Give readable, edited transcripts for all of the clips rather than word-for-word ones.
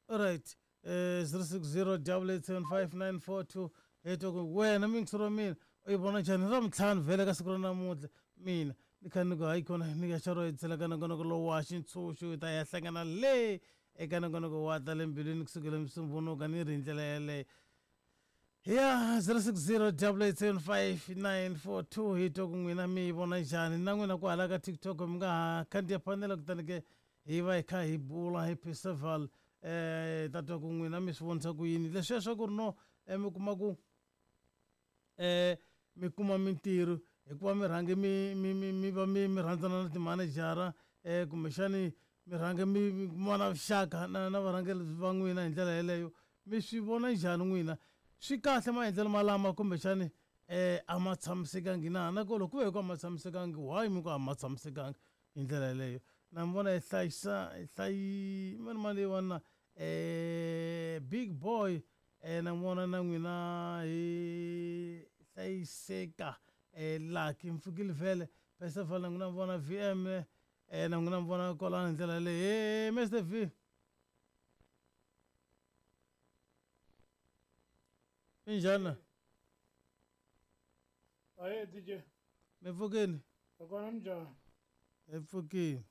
Alright, 060 8875942 hi twa ku wena muyingiseri wa mina u yi vona njhani ra mintlhanu vhele ka siku ra namuntlha mina ni kha ni ku hayi kona ni ya xaro hi ka nongonoko lowu wa xintshunxo hi ta ya hlangana le eka nongonoko wa ta le mbilwini kusukela musumbunuka ni ri hi ndlela yeleyo ya 060 8875942 hi twa ku n'wina mi yi vona njhani na n'wina kwahala ka tiktok mi nga ha khandziya fanela kutani ke hi va hi kha hi bula hi perseval eh ta twa ku n'wina mi swi vonisa ku yini leswiya swa ku ri no mi kuma ku eh mi kuma mintirho hikuva mi rhange mi mi mi mi va mi mi rhandzana na timanejara eh kumbexani mi rhange mi mi kuma na vuxaka na na varhangeri va n'wina hi ndlela yeleyo mi swi vona njhani n'wina swi kahle maendlelo malama kumbexani eh a ma tshamisekangi na na ku loko ku ve hi ku a ma tshamisekangi why mi ku a ma tshamisekangi hi ndlela yeleyo na mi vona hi hlayisa hi hlayi mani mali leyiwani na big boy na mi vona na n'wina hi hlayiseka lucky mpfukile vhele Percival na n'wina mi vona VM na n'wina mi vona kwalano hi ndlela yaleyo he Mister V minjhani na Aye DJ. Mi pfukini? Hi kona minjhani? Hi pfukini.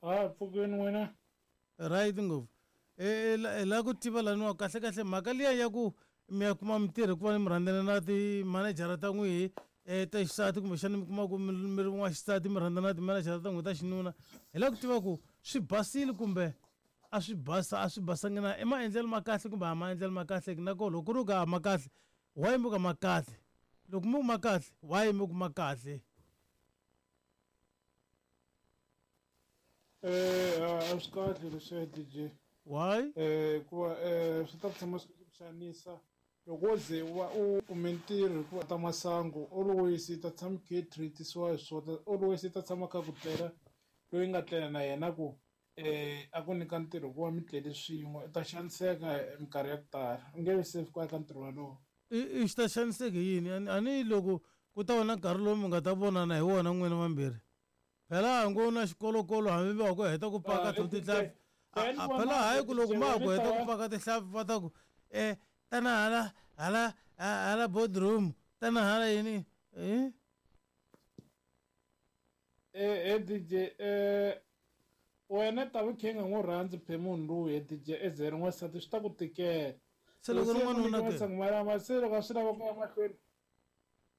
Ha pfukini n'wina? Right ngopfu. E, e, la ku tiva laniwa kahle kahle mhaka liya ya ku mi ya kuma mintirho hikuva mi rhandzana na timanejara ta n'wihi um ta xisati kumbexana mi kuma ku mi ri n'waxisati mi rhandzana na timanejara ta n'wihi ta xinuna hi lava ku tiva ku swi basile kumbe a swi basa a swi basangi na i maendlelo ma kahle kumbe a maendlelo ma kahle na koho loko ku ri ku a ma kahle why mi ku ma kahle loko mi ku ma kahle why mi ku ma kahle Eh a swi kahle leswiya DJ. Why? Eh hikuva eh swi ta tshama swi ku xanisa loko wo ze u va u kume ntirho hikuva ta masangu always i ta tshama kha i treat-isiwa hi swona always i ta tshama kha ku tlela loyi nga tlela na yena ku eh a ku nyika ntirho hikuva mi tlele swin'we u ta xaniseka minkarhi ya ku tala u nge vi safe ku ya ka ntirho wolowo. I xi ta xaniseka hi yini a ni loko ku ta va na nkarhi lowu mi nga ta vonana hi wona n'wina vambirhi phela a ngo na xikolokolo hambi va ku heta ku paka to tinhlampfi phela hayi ku loko ma ha ku heta ku paka tinhlampfi va ta ku um tana hala hala hala boardroom tana hala yini um Eh, DJ eh wena ta vi khe nga n'wi rhandzi phe munhu lowu he DJ e ze ri n'wansati swi ta ku tikela se loko ri n'wanuna ke masangu malama se loko a swi lava ku ya mahlweni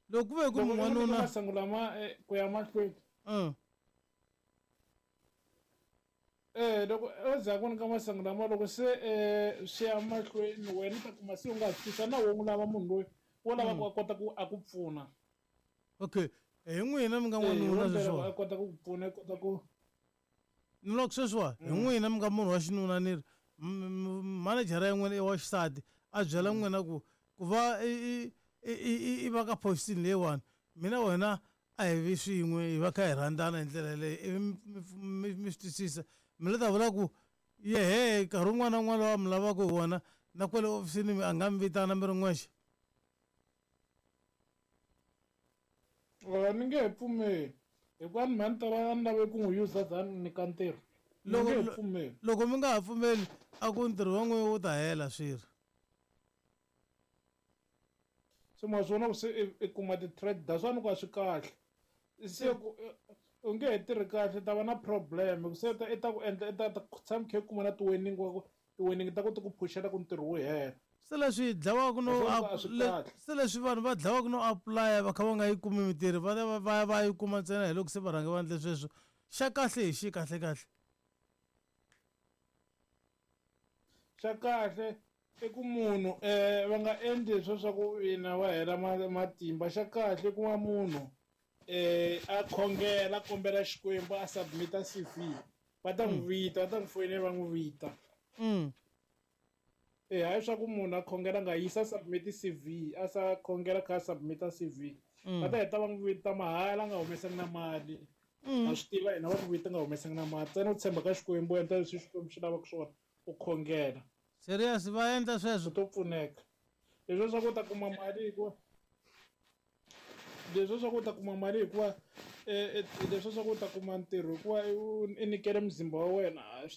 loko ku ve ku n'wanuna masangu lama eh, ku ya mahlweni Eh loko o za ku nyika masangu lama loko se eh swi ya mahlweni wena u ta kuma se u nga ha swi na wo n'wi lava munhu loyi wo lava ku a kota ku a ku pfuna okay hi n'wina mi nga n'wanuna sweswiwa a kota ku ku pfuna i kota ku ni loko sweswiwa hi n'wina mi nga munhu wa xinuna ni ri manejara ya n'wina i wa xisati a byela n'wina ku ku va i i i va ka position leyiwani mina wena a hi vi swin'we hi va kha hi rhandzana hi ndlela yaleyo ivi mi mi swi twisisa mi la ta vula ku yehe nkarhi wun'wana na wun'wana lowu a mi lavaka hi wona na kwale ofisini a nga mi vitana mi ri n'wexe A ni nge he pfumeli hikuva ni mhani ta va ni lave ku n'wi user than nyika ntirho ni nge he pfumeli loko mi nga ha pfumeli a ku ntirho wa n'wina wu ta hela swirho se ma swi vona ku se i kuma ti-threat that's why ni ku a swi kahle se ku u nge he tirhi kahle u ta va na problem se i ta ku endla i ta tshama kha i kuma na ti-warning wa ku ti-warning ta ku ti ku phuxela ku ntirho wu hela se leswi dlawaka no se leswi vanhu va dlawaka no apply va kha va nga yi kumi mintirho va va va va yi kuma ntsena hi loko se va rhange va endle sweswo xa kahle hi xi kahle kahle xa kahle i ku munhu um va nga endli swo swa ku ina va hela matimba xa kahle ku va munhu um a khongela a kombela xikwembu a submit-a C_V va ta n'wi vita va ta n'wi foyinela va n'wi vita e hayi swa ku munhu a khongela nga yisa submit C_V a sa khongela kha a submit-a C_V va ta heta va n'wi vita mahala a nga humesangi na mali ha swi tiva hina va ku vita nga humesangi na mali ntsena u tshemba ka xikwembu u endla leswi xikwembu xi lavaka swona u khongela serious va endla sweswo u to pfuneka leswi swa ku u ta kuma mali hikuva leswi swa ku u ta kuma mali hikuva leswi swa ku u ta kuma ntirho hikuva i nyikele muzimba wa wena swi ta.